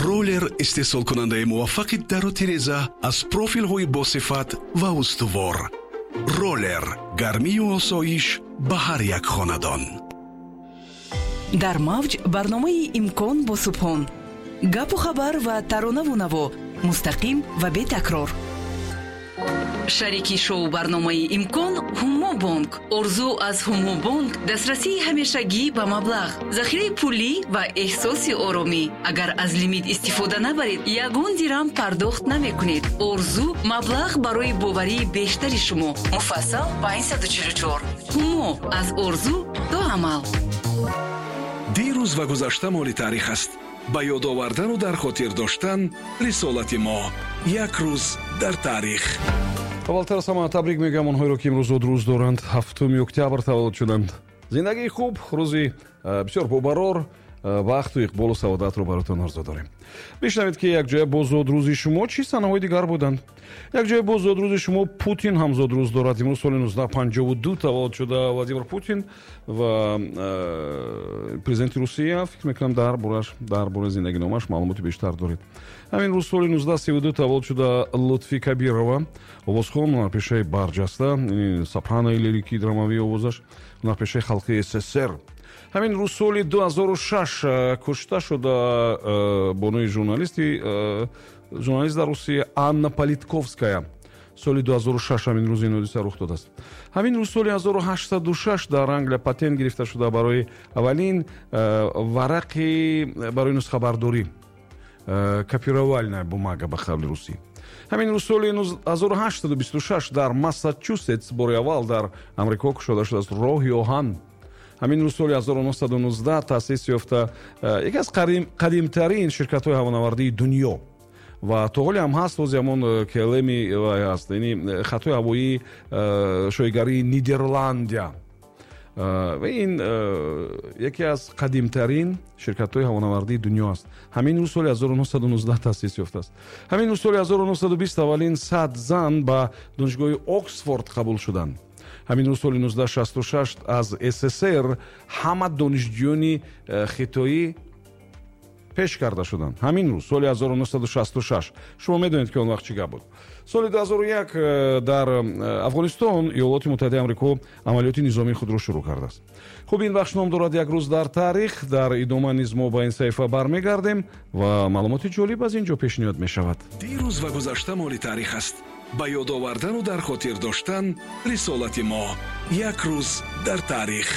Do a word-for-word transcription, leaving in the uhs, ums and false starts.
Роллер истеҳсолкунандаи муваффақи дару тиреза аз профилҳои босифат ва устувор. Роллер гармию осоиш ба ҳар як хонадон. Дар мавҷ барномаи «Имкон» бо Субҳон. Гапу хабар ва таронаву наво мустақим ва бетакрор. Шарики шоу барномаи «Имкон» Ҳумо Бонк. Орзу аз Ҳумо Бонк дастрасии ҳамешагӣ ба маблағ, захираи пулӣ ва эҳсоси оромӣ. Агар аз лимит истифода набаред, ягон дирам пардохт намекунед. Орзу маблағ барои боварии бештари шумо. Муфассал панҷсаду чилу чор. Ҳумо аз орзу то амал. Дирӯз ва гузашта моли таърих аст. Ба ёд овардану дар хотир доштан рисолати мо. Як рӯз дар таърих. Аввалтар аз ҳама табрик мегӯям онҳоеро, ки имрӯз зодрӯз доранд, ҳафтуми октябр таваллуд шуданд. Зиндагии хуб, рӯзи э, бисёр бобарор, э, бахту иқболу саодатро баротон орзу дорем. Бишнавед, ки якҷоя бо зодрӯзи шумо чӣ санаҳои дигар буданд. Якҷоя бо зодрӯзи шумо Путин ҳам зодрӯз дорад. Имрӯз соли нуздаҳ панҷоҳу ду таваллуд шуда Владимир Путин ва э, президенти Русия. Фикр мекунам, дар бораш, дар бораи зиндагиномаш маълумоти бештар доред. Ҳамин рӯз соли нуздаҳ сиву ду таваллуд шуда Лутфи Кабирова, овозхон, ҳунарпешаи барҷаста, сопранои лирикӣ драмавии овозаш, ҳунарпешаи халқии С С С Р. Ҳамин рӯз соли ду ҳазору шаш э, кушта шуда э, бонуи журналисти э, журналист дар Русия Анна Политковская. Соли ду ҳазору шаш ҳамин рӯз ин ҳодиса рух додааст. Ҳамин рӯз соли ҳазору ҳаштсаду шаш дар Англия патент гирифта шуда барои аввалин варақи барои нусхабардорӣ, копировальная бумага ба қавли русӣ. Ҳамин рӯз соли ҳазору ҳаштсаду бисту шаш дар Массачусетс бори аввал дар Амрико кушода шудааст роҳи оҳан. Ҳамин рӯз соли ҳазору нуҳсаду нуздаҳ таъсис ёфта э, яке аз қадимтарин ширкатҳои ҳавонавардии дунё ва то ҳоле ҳам ҳаст, ҳози ҳамон э, К Л М ҳаст, яъне э, хатҳои ҳавоии шоҳигарии Нидерландия. Ва ин яке аз қадимтарин ширкатҳои ҳавонавардии дунё аст. Ҳамин рӯз соли ҳазору нуҳсаду нуздаҳ таъсис ёфтааст. Ҳамин рӯз соли ҳазору нуҳсаду бист аввалин сад зан ба донишгоҳи Оксфорд қабул шуданд. Ҳамин рӯз соли нуздаҳ шасту шаш аз С С С Р ҳама донишҷӯёни э, хитоӣ пеш карда шуданд. Ҳамин рӯз соли ҳазору нуҳсаду шасту шаш. Шумо медонед, ки он вақт чӣ гап буд. Соли ду ҳазору як э, дар э, Афғонистон Иёлоти Муттаҳидаи Амрико амалиёти низомии худро шурӯъ кардааст. Хуб, ин бахш ном дорад «Як рӯз дар таърих». Дар идома низ мо ба ин саҳифа бармегардем ва маълумоти ҷолиб аз ин ҷо пешниҳод мешавад. Дирӯз ва гузашта моли таърих аст. Ба ёд овардану дар хотир доштан рисолати мо. Як рӯз дар таърих.